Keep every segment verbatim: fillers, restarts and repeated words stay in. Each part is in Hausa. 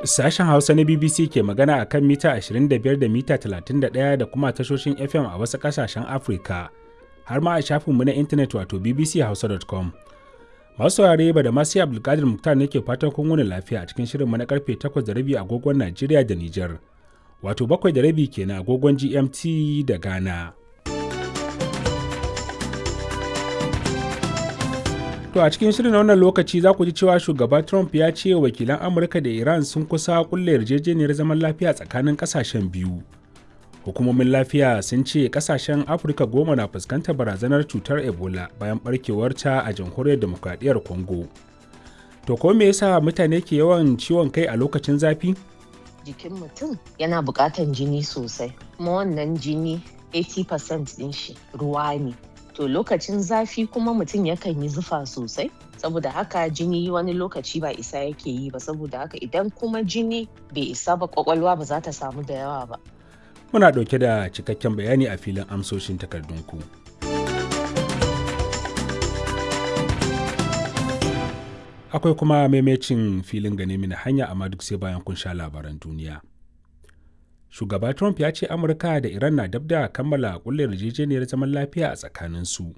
Sashen Hausa na B B C ke magana a kan mita ashirin da biyar da mita talatin da ɗaya da kuma tashoshin F M a wasu ƙasashen Afirka, har ma a shafinmu na intanet wato B B C hausa dot com. Masu saurare, ba da masu Abdulkadir Muktar ne ke fatan kun wuni lafiya a cikin shirinmu na karfe takwas da rabi agogon Najeriya da Nijar, wato bakwai da rabi kenan agogon G M T da Ghana. To, a cikin shirin wannan lokaci za ku ji cewa shugaba Trump ya ce wakilan Amurka da Iran sun kusa kulle yarjejeniyar zaman lafiya tsakanin kasashen biyu. Hukumomin lafiya sun ce kasashen Afirka goma na fuskantar barazanar cutar Ebola bayan barkewarta a Jamhuriyar Demokradiyyar Congo. To, ko me yasa mutane ke yawan ciwon kai a lokacin zafi? Jikin mutum yana buƙatan jini sosai, kuma wannan jini kashi tamanin cikin ɗari ɗin shi ruwa ne. To, lokacin zafi kuma mutum yakan yi zufa sosai, saboda haka jini wani lokaci ba isa yake yi ba. Saboda haka idan kuma jini bai isa ba, kwakwalwa ba za ta samu da yawa ba. Muna ɗauke da cikakken bayani a filin amsoshin takardunku. Akwai kuma maimacin filin gane mini hanya, amma duk sai bayan kun sha labaran duniya. Shugaba Trump ya ce Amurka da Iran na dab da kammala kulle yarjejeniyar zaman lafiya a tsakaninsu.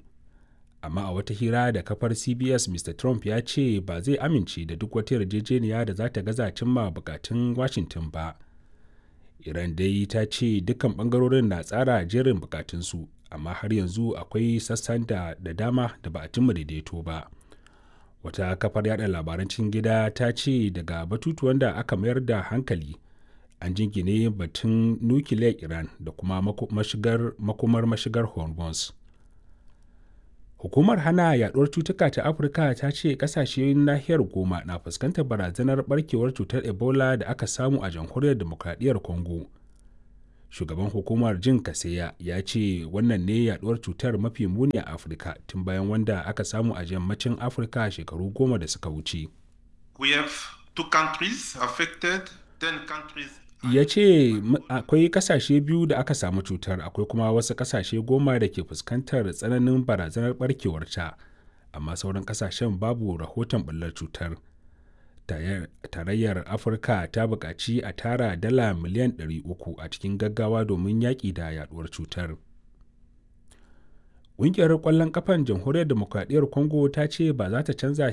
Amma a wata hira da kafar C B S, Mister Trump ya ce ba zai amince da duk wata yarjejeniya da za ta gaza cimma bukatun Washington ba. Iran dai ta ce dukkan bangarorin na tsara jerin bukatunsu, amma har yanzu akwai sassan da da dama da ba a cimma daidaito ba. Wata kafar yada labaran cikin gida ta ce daga batutuwan da aka mayar da hankali an jingine batun nukiliyar Iran da kuma mashigar, makomar mashigar Hormuz. Hukumar hana yaduwar cutuka ta Afirka ta ce kasashen nahiyar goma na fuskantar barazanar barkewar cutar Ebola da aka samu a Jamhuriyar Demokradiyyar Congo. Shugaban hukumar, Jin Kaseya, ya ce wannan ne yaduwar cutar mafi muni a Afirka tun bayan wanda aka samu a yammacin Afirka shekaru goma da suka wuce. We have two countries affected, ten countries. Ya ce akwai kasashe biyu da aka samu cutar, akwai kuma wasu kasashe goma da ke fuskantar tsananin barazanar barkewarta, amma sauran kasashen babu rahoton bullar cutar. Tarayyar Afirka ta buƙaci a tara dala miliyan ɗari uku a cikin gaggawa domin yaƙi da yaduwar cutar. Ƙungiyar ƙwallon ƙafan Jamhuriyar Demokradiyyar Congo ta ce ba za ta canza shirye